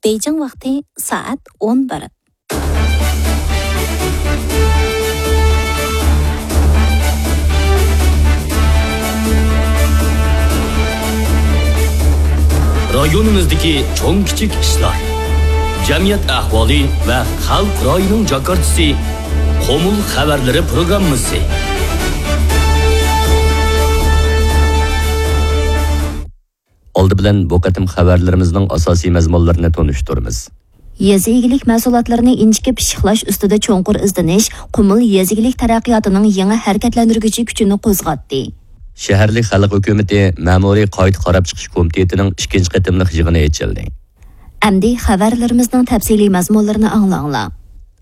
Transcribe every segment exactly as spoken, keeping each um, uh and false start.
بېيجىڭ ۋاقتى سائەت ئون بىر. رايونىمىزدىكى چوڭ-كىچىك ئىشلار، جەمئىيەت ئەھۋالى ۋە خەلق رايىنىڭ جاكارچىسى، قۇمۇل خەۋەرلىرى پروگراممىسى. ئالدى بىلەن بۇ قېتىم خەۋەرلىرىمىزنىڭ ئاساسىي مەزمۇنلىرىنى تونۇشتۇرىمىز. يېزا ئىگىلىك مەھسۇلاتلىرىنى ئىنچىكە پىششىقلاش ئۈستىدە چوڭقۇر ئىزدىنىش قۇمۇل يېزا ئىگىلىك تەرەققىياتىنىڭ يېڭى ھەرىكەتلەندۈرگۈچى كۈچىنى قوزغاتتى. شەھەرلىك خەلق ھۆكۈمىتى مەمۇرىي قايتا قاراپ چىقىش كومىتېتىنىڭ ئىككىنچى قېتىملىق يىغىنى ئېچىلدى. ئەمدى خەۋەرلىرىمىزنىڭ تەپسىلىي مەزمۇنلىرىنى ئاڭلاڭلار.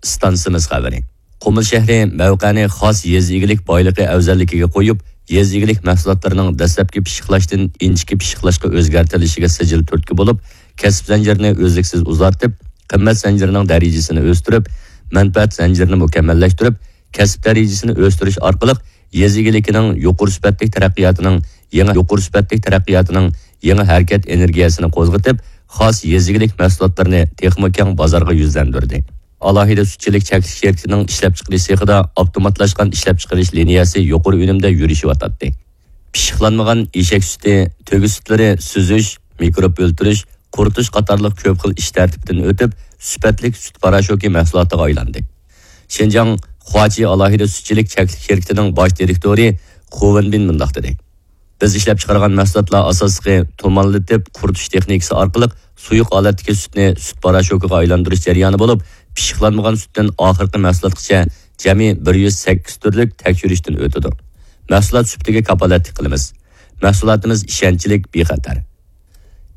ئىستانسىمىز خەۋىرى. قۇمۇل شەھىرى مەۋقەنى خاس يېزا ئىگىلىك بايلىقى ئەۋزەللىكىگە قويۇپ، يېزا ئىگىلىك مەھسۇلاتلىرىنىڭ دەسلەپكى پىششىقلاشتىن ئىنچىكە پىششىقلاشقا ئۆزگەرتىلىشىگە سىجىل تۈرتكە بولۇپ، كەسىپ زەنجىرىنى ئۈزلۈكسىز ئۇزارتىپ، قىممەت زەنجىرىنىڭ دەرىجىسىنى ئۆستۈرۈپ، مەنپەئەت زەنجىرىنى مۇكەممەللەشتۈرۈپ، كەسىپ دەرىجىسىنى ئۆستۈرۈش ئارقىلىق يېزا ئىگىلىكىنىڭ يۇقىرى سۈپەتلىك تەرەققىياتىنىڭ يېڭى، يۇقىرى سۈپەتلىك تەرەققىياتىنىڭ يېڭى ھەرىكەت ئېنېرگىيەسىنى قوزغىتىپ، خاس يېزا ئىگىلىك مەھسۇلاتلىرىنى تېخىمۇ كەڭ بازارغا يۈزلەندۈردى. ئالاھىدە سۈتچىلىك چەكلىك شىركىتىنىڭ ئىشلەپچىقىرىش سېخىدا ئاپتوماتلاشقان ئىشلەپچىقىرىش لىنىيەسى يۇقىرى ئۈنۈمدە يۈرۈشۈۋاتاتتى. پىششىقلانمىغان ئېشەك سۈتى، تۆگە سۈتلىرى سۈزۈش، مىكروب ئۆلتۈرۈش، قۇرۇتۇش قاتارلىق كۆپ خىل ئىش تەرتىپىدىن ئۆتۈپ، سۈپەتلىك سۈت پاراشوكى مەھسۇلاتىغا ئايلاندى. شىنجاڭ خۇاچى ئالاھىدە سۈتچىلىك چەكلىك شىركىتىنىڭ باش دىرېكتورى خۇ ۋېنبىن مۇنداق دېدى: بىز ئىشلەپچىقارغان مەھسۇلاتلار ئاساسلىقى تۇمانلىتىپ قۇرۇتۇش تېخنىكىسى ئارقىلىق سۇيۇق ھالەتتىكى سۈتنى سۈت پاراشوكىغا ئايلاندۇرۇش جەريانى بولۇپ، پىششىقلانمىغان سۈتتىن ئاخىرقى مەھسۇلاتقىچە جەمئىي بىر يۈز سەككىز تۈرلۈك تەكشۈرۈشتىن ئۆتىدۇ. مەھسۇلات سۈپىتىگە كاپالەتلىك قىلىمىز. مەھسۇلاتىمىز ئىشەنچلىك، بىخەتەر.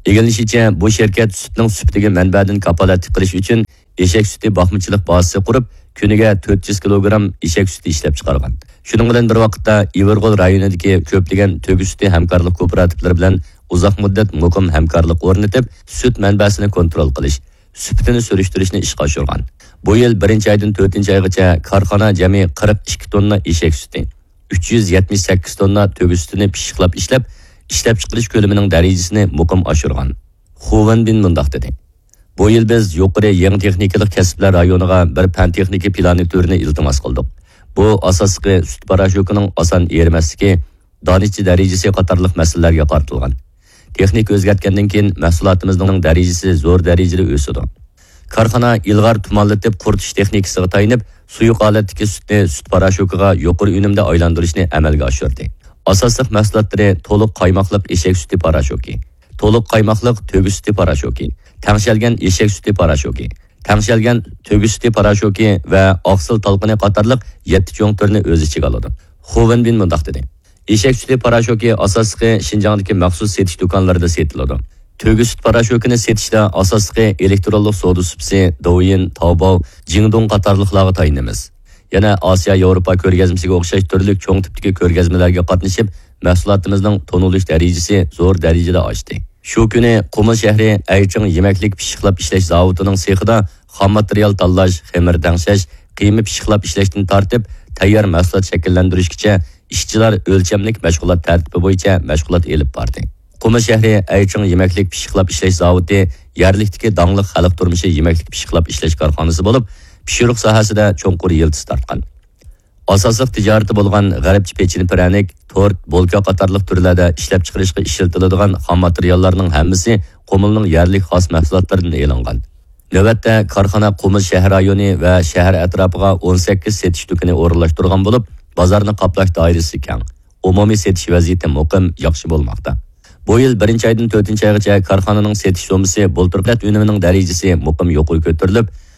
ئىگىلىنىشىچە، بۇ شىركەت سۈتنىڭ سۈپىتىگە مەنبەدىن كاپالەتلىك قىلىش ئۈچۈن ئېشەك سۈتى باقمىچىلىق بازىسى قۇرۇپ، كۈنىگە تۆت يۈز كىلوگرام ئېشەك سۈتى ئىشلەپچىقارغان. شۇنىڭ بىلەن بىر ۋاقىتتا، ئىۋىرغول رايونىدىكى كۆپلىگەن تۆگە سۈتى ھەمكارلىق كوپىراتىپلىرى بىلەن ئۇزاق مۇددەت مۇقىم ھەمكارلىق ئورنىتىپ، سۈت مەنبەسىنى كونترول قىلىش، سۈپىتىنى سۈرۈشتۈرۈشنى ئىشقا ئاشۇرغان. بۇ يىل بىرىنچى ئايدىن تۆتىنچى ئايغىچە كارخانا جەمئىي قىرىق ئىككى توننا ئېشەك سۈتى، ئۈچ يۈز يەتمىش سەككىز توننا تۆگە سۈتىنى پىششىقلاپ ئىشلەپ، ئىشلەپچىقىرىش كۆلىمىنىڭ دەرىجىسىنى مۇقىم ئاشۇرغان. خۇ ۋېنبىن مۇنداق دېدى: بۇ يىل بىز يۇقىرى يېڭى تېخنىكىلىق كەسىپلەر رايونىغا بىر پەن-تېخنىكا پىلانى تۈرىنى ئىلتىماس قىلدۇق. بۇ ئاساسلىقى سۈت پاراشوكىنىڭ ئاسان ئېرىمەسلىكى، دانىچە دەرىجىسى قاتارلىق مەسىلىلەرگە قارىتىلغان. تېخنىكا ئۆزگەرتكەندىن كېيىن، مەھسۇلاتىمىزنىڭ دەرىجىسى زور دەرىجىدە ئۆسىدۇ. كارخانا ئىلغار تۇمانلىتىپ قۇرۇتۇش تېخنىكىسىغا تايىنىپ، سۇيۇق ھالەتتىكى سۈتنى سۈت پاراشوكىغا يۇقىرى ئۈنۈمدە ئايلاندۇرۇشنى ئەمەلگە ئاشۇردى. ئاساسلىق مەھسۇلاتلىرى تولۇق قايماقلىق ئېشەك سۈتى پاراشوكى، تولۇق قايماقلىق تۆگە سۈتى پاراشوكى، تەڭشەلگەن ئېشەك سۈتى پاراشوكى، تەڭشەلگەن تۆگە سۈتى پاراشوكى ۋە ئاقسىل تالقىنى قاتارلىق يەتتە چوڭ تۈرنى ئۆز ئىچىگە ئالىدۇ. خۇ ۋېنبىن مۇنداق دېدى: ئېشەك سۈتى پاراشوكى ئاساسلىقى شىنجاڭدىكى مەخسۇس سېتىش دۇكانلىرىدا سېتىلىدۇ. تۆگە سۈت پاراشوكىنى سېتىشتا ئاساسلىقى ئېلېكترونلۇق سودا سۇپىسى، دوۋيىن، تاۋباۋ، جىڭدۇڭ قاتارلىقلارغا تايىنىمىز. يەنە ئاسىيا ياۋروپا كۆرگەزمىسىگە ئوخشاش تۈرلۈك چوڭ تىپتىكى كۆرگەزمىلەرگە قاتنىشىپ، مەھسۇلاتىمىزنىڭ تونۇلۇش دەرىجىسى زور دەرىجىدە ئاشتى. شۇ كۈنى قۇمۇل شەھىرى ئەيچىڭ يېمەكلىك پىششىقلاپ ئىشلەش زاۋۇتىنىڭ سېخىدا خام ماتېرىيال تاللاش، خېمىر تەڭشەش، قىيما پىششىقلاپ ئىشلەشتىن تارتىپ، تەييار مەھسۇلات شەكىللەندۈرۈشكىچە ئىشچىلار ئۆلچەملىك مەشغۇلات تەرتىپى بويىچە مەشغۇلات ئېلىپ باردى. قۇمۇل شەھىرى ئەيچىڭ يېمەكلىك پىششىقلاپ ئىشلەش زاۋۇتى يەرلىكتىكى داڭلىق خەلق تۇرمۇشى يېمەكلىك پىششىقلاپ ئىشلەش كارخانىسى بولۇپ، پىشۇرۇق ساھەسىدە چوڭقۇر يىلتىز تارتقان. ئاساسلىق تىجارىتى بولغان غەربچە پېچىنە پىرەنىك، تورت، بولكا قاتارلىق تۈرلەردە ئىشلەپچىقىرىشقا ئىشلىتىلىدىغان خام ماتېرىياللارنىڭ ھەممىسى قۇمۇلنىڭ يەرلىك خاس مەھسۇلاتلىرىدىن ئېلىنغان. نۆۋەتتە كارخانا قۇمۇل شەھەر رايونى ۋە شەھەر ئەتراپىغا ئون سەككىز سېتىش دۇكىنى ئورۇنلاشتۇرغان بولۇپ، بازارنى قاپلاش دائىرىسى كەڭ، ئومۇمىي سېتىش ۋەزىيىتى مۇقىم، ياخشى بولماقتا. بۇ يىل بىرىنچى ئايدىن تۆتىنچى ئايغىچە كارخانىنىڭ سېتىش سوممىسى بۇلتۇرقى ئۈنۈمىنىڭ دەرىجىسى مۇقىم يۇقىرى كۆتۈرۈلۈپ،